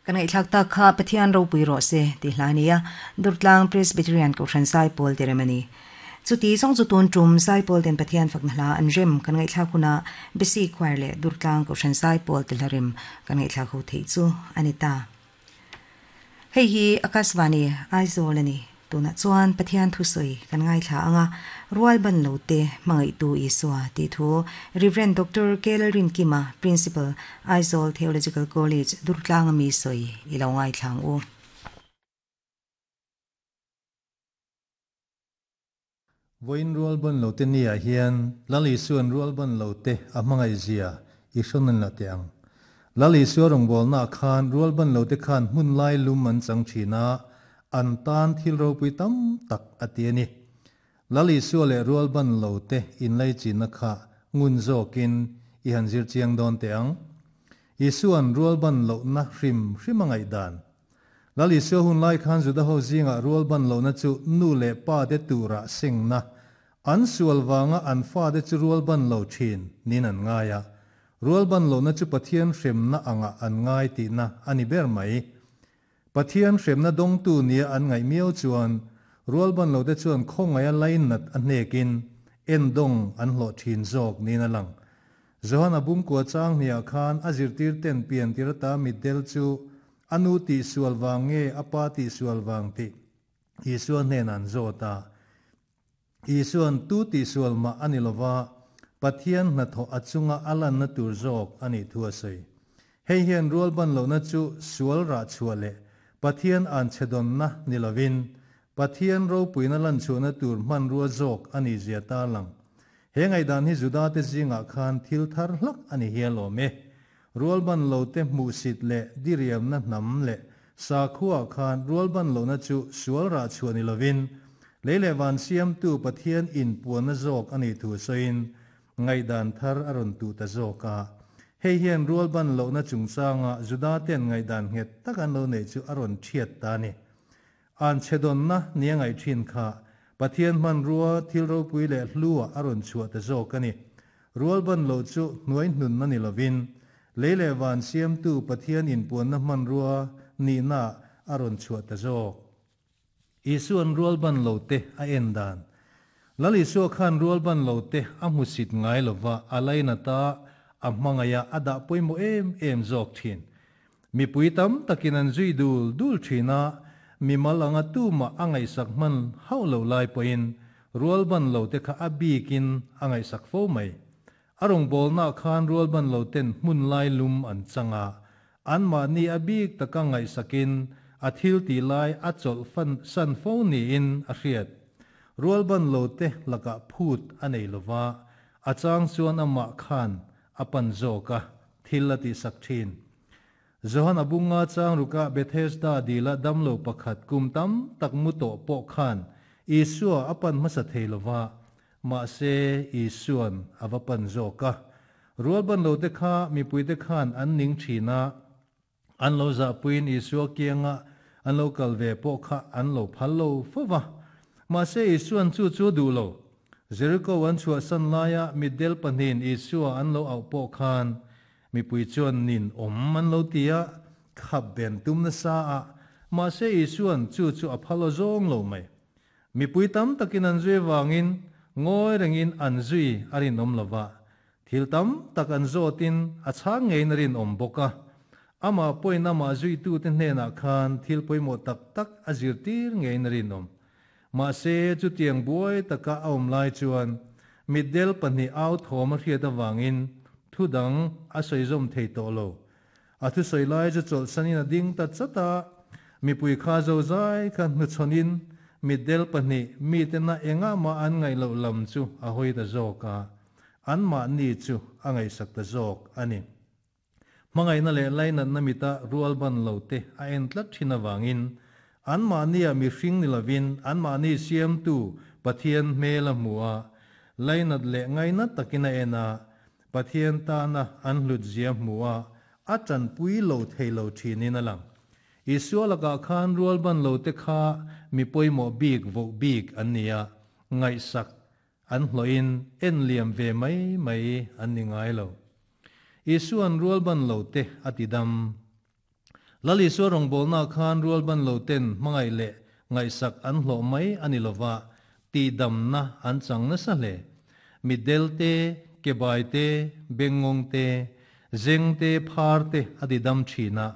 Kan ngaihthlak tak kha Pathian ropui rawh se tih hla a ni a, Durtlang Presbyterian Kohhran Zaipawl ti rem a ni. Chuti zawng chu tun tum Zaipawl ten Pathian fakna hla an rem kan ngaihthlak hunah Besi Choir leh Durtlang Kohhran Zaipawl ti hla rem kan ngaihthlak ho theih chu a ni ta. Hei hi Akashvani Aizawl a ni. Tunah chuan Pathian thusawi kan ngaithla ang a, Rual ban lo te hmangaihtu Isua tih thu Rev. Doctor Kelrinkima, Principal, Aizawl Theological College, Durtlanga mi sawi i lo ngaithla ang u. Vawiin rual ban lo te niah hian Lal Isua'n rual ban lo te a hmangaih zia i hrawn an la teh ang. Lal Isua rawngbawlnaah khan rual ban lo te khan hmun lai lum an chang thin a, an tan thil ropui tam tak a ti a ni. Lal Isua leh rual ban lo te inlaichinna kha ngun zawkin i han zir chiang dawn teh ang. Isua'n rual ban lohna hrim hrim a ngaihdan. Lal Isua hun lai khan Juda ho zingah rual ban lohna chu nu leh pa te turah sengna, an sual vanga an fate chu rual ban lo thin niin an ngai a. Rual ban lohna chu Pathian hremna angah an ngai tihna a ni ber mai. Pathian hremna dawngtu nia an ngaih miau chuan rual ban lote chuan khawngaia lainat a hnekin endawng an hlawh thin zawk niin a lang. Johana bungkua chang hniah khan a zirtirten piantir ata mitdel chu A nu tihsual vang nge a pa tihsual vang tih Isua hnenah an zawt a. Isua'n tu tihsual mah a ni lova, Pathian hnathawh a chunga a lanna tur zawk a nih thu a sawi. Hei hian rualban lohna chu sual rah chhuah leh Pathian anchhedawnna ni lovin, Pathian ropuina lanchhuahna tur hmanrua zawk a nih zia tarlang. He ngaihdan hi Judate zingah khan thil thar hlak a ni hial awm e. Rualban lote hmuhsit leh diriamna hnam leh sakhuaah khan rualban lohna chu sual rah chhuah ni lovin, lei leh van siamtu Pathian inpuanna zawk a nih thu sawiin ngaihdan thar a rawn tuh ta zawk a. Hei hian rualban lohna chungchanga Judate'n ngaihdan nghet tak an lo neih chu a rawn thiat ta a ni. An chhedawnna nia ngaih thin kha Pathian hmanrua thil ropui leh hluah a rawn chhuah ta zawk a ni. Rualban loh chu hnuai hnunna ni lovin, lei leh van siamtu Pathian inpuanna hmanrua nihnaah a rawn chhuah ta zawk. Isua'n rualban lo te a en dan. Lal Isua khan rualban lo te a hmusit ngai lova, a lainat a, a hmangaih a, a dah pawimawh em em zawk thin. Mipui tam takin an zui dul dul thin a, mimal anga tumah a ngaihsak hman hauh lo lai pawhin rualban lo te kha a bikin a ngaihsak fo mai. A rawngbawlnaah khan rualban lo ten hmun lai lum an chang a, anmahni a bik taka ngaihsakin a thil tih lai a chawlh fan san fo niin a hriat. Rualban lo te lakah phut a nei lova, a chang chuan amah khan a pan zawk a, thil a tihsak thin. Johan a bunga chang rukah Bethesda dila damlo pakhat kum tam tak mu tawh pawh khan Isua a pan hmasa thei lova, mahse Isuan a va pan zawk a. Rualbanlote kha mipuite khan an ning thin a, an lo zahpuiin Isua kianga an lo kal ve pawh kha an lo phal lo fo va. Mahse Isuan chu chu a duh lo. Jeriko an chhuahsan laia mitdel pahnihin Isua an lo auh pawh khan mipui chuan nin awm an lo ti a, khap ben tum nasa a, mahse Isua'n chu chu a phal aw zawng lo mai. Mipui tam takin an zui avangin ngawi rengin an zui a rinawm lo va, thil tam tak an zawtin a chhang ngeiin a rinawm bawk a. Amah pawhin amah zuitute hnenah khan thil pawimawh tak tak a zirtir ngeiin a rinawm. Mahse, chutiang buai taka a awm lai chuan mitdel pahnih au thawm a hriat avangin thu dang a sawi zawm thei tawh lo. A thusawi lai chu chawlhsanin a ding ta chat a, mipui kha zozai kha hnuchhawnin mitdel pahnih mitena engah mah an ngaih loh lam chu a hawi ta zawk a, anmahni chu a ngaihsak ta zawk a ni. Hmangaihna leh lainatna mita rualban lo te a en tlat thin avangin anmahnia mihring ni lovin anmahni siamtu Pathian hmel a hmu a, lainat leh ngainat takin a en a, Pathian tana an hlutzia hmu a, a tanpui lo thei lo thinin a lang. Isua lakah khan rualban lo te kha mi pawimawh bik voh bik an ni a, ngaihsak An hlawhin en liam ve mai mai an ni ngai lo. Isua'n rualban lo te a ti dam. Lal Isua rawngbawlnaah khan rualban lo ten hmangaih leh ngaihsak an hlawh mai a ni lova, tihdamna an chang nasa hle. Mitdel te, kebai te, bengngawng te, zeng te, phar te a didam thin a.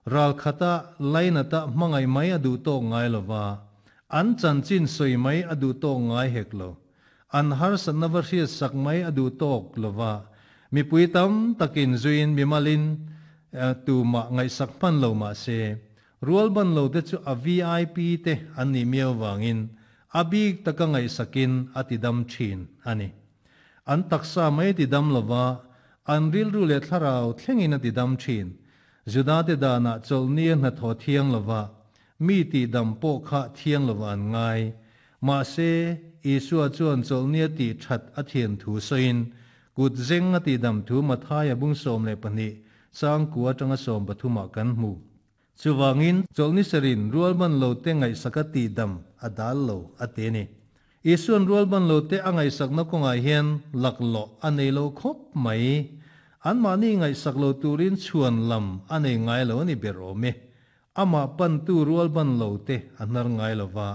Ral khata lainata hmangaih mai a duh tawk ngai lova, an chanchin sawi mai a duh tawk ngai hek lo. An harsatna va hriat sak mai a duh tawk lova, mipui tam takin zuiin mimalin tumah ngaihsak hman lo mah se, rualban lo te chu a VIP te an nih miau vangin a bik taka ngaihsakin a tidam thin a ni. An taksa mai tidam lova, an rilru leh thlarau thlengin a tidam thin. Judate danah chawlhnia hnathawh thiang lova, mi tihdam pawh kha thiang lova an ngai. Mahse, Isua chuan chawlhnia tih that a thian thu sawiin, kut zeng a tihdam thu Mathaia bung 12, changkua atanga 13 ah kan hmu. Chuvangin, chawlhni serin rualban lo te ngaihsaka tihdam a dal lo a ti a ni. Isua'n rualban lo te a ngaihsakna kawngah hian laklawh a nei lo khawp mai. Anmahni ngaihsak lo turin chhuan lam a nei ngai lo a ni ber awm e. Amah pantu rualban lo te a hnar ngai lo va,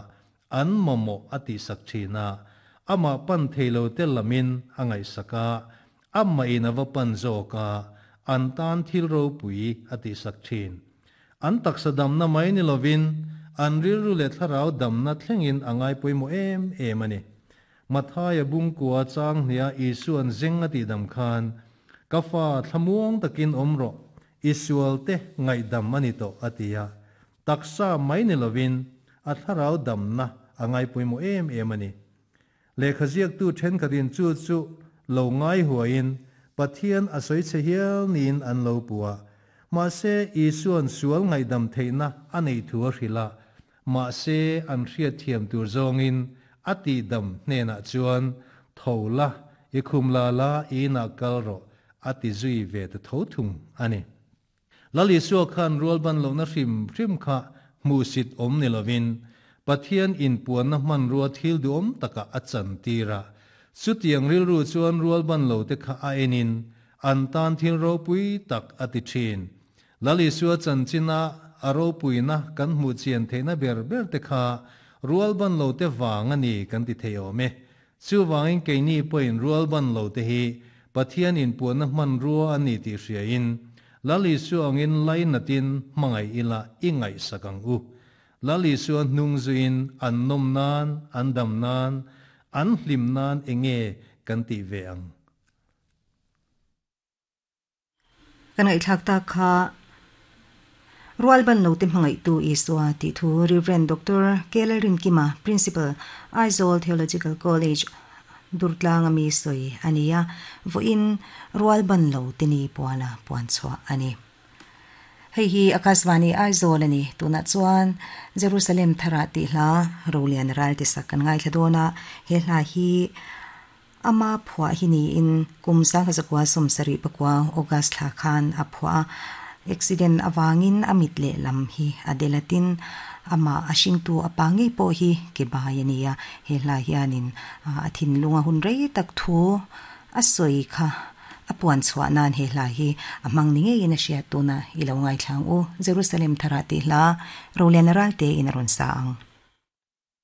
an mamawh a tihsak thin a, amah pan thei lo te lamin a ngaihsak a, amahin a va pan zawk a, an tan thil ropui a tihsak thin. An taksa damna mai ni lovin an rilru leh thlarau damna thlengin a ngai pawimawh em em a ni. Mathaia bungkua chang hniha Isua'n zeng a tihdam khan, Ka fa, thlamuang takin awm rawh, i sualte ngaihdam a ni tawh, a ti a. Taksa mai ni lovin a thlarau damna a ngai pawimawh em em a ni. Lehkha ziaktu thenkhatin chu chu lo ngai huaiin Pathian a sawi chhe hial niin an lo puh a. Mahse, Isua'n sual ngaihdam theihna a neih thu a hrilh a, Mahse, an hriatthiam tur zawngin a tihdam hnenah chuan, Tho la, i khum la la, i inah kal rawh, a ti zui ve ta tho thung a ni. Lal Isua khan rualban lohna hrim hrim kha hmuhsit awm ni lovin, Pathian inpuanna hmanrua thil duhawm takah a chantir a. Chutiang rilru chuan rualban lote kha a enin, an tan thil ropui tak a ti thin. Lal Isua chanchina a ropuina kan hmuh chian theihna ber ber te kha rualban lo te vang a ni kan ti thei awm e. Chuvangin keini pawhin rualban lo te hi Pathian inpuanna hmanrua a ni tih hriain Lal Isua angin lainatin hmangaih ila i ngaihsak ang u. Lal Isua hnung zuiin an nawm nan, an dam nan, an hlim nan enge kan tih ve ang? Ka ngaihthlak tak kha Rualban Note hmangaihtu Isua tih thu Rev. Doctor Kelerinkima, Principal, Aizawl Theological College, Durtlanga mi sawi a ni a, vawiin Rualban lo te ni puala puan chhuah a ni. Hei hi Akashvani Aizawl a ni. Tunah chuan Jerusalem Tharah tih hla Rolian Ral ti sak kan ngaithla dawn a, he hla hi Ama phuah hi niin kum 1974 August thla khan a phuah a, accident avangin a mit lehlam hi a del a tin, amah a hringtu a pa ngei pawh hi ke bai a ni a, he hla hianin a thinlunga hun rei tak thu a sawi kha a puan chhuah nan he hla hi a hmang ni ngeiin a hriat tuna i lo ngaithla ang u, Jerusalem Tharah tih hla Roliana Ralte in a rawn sa ang.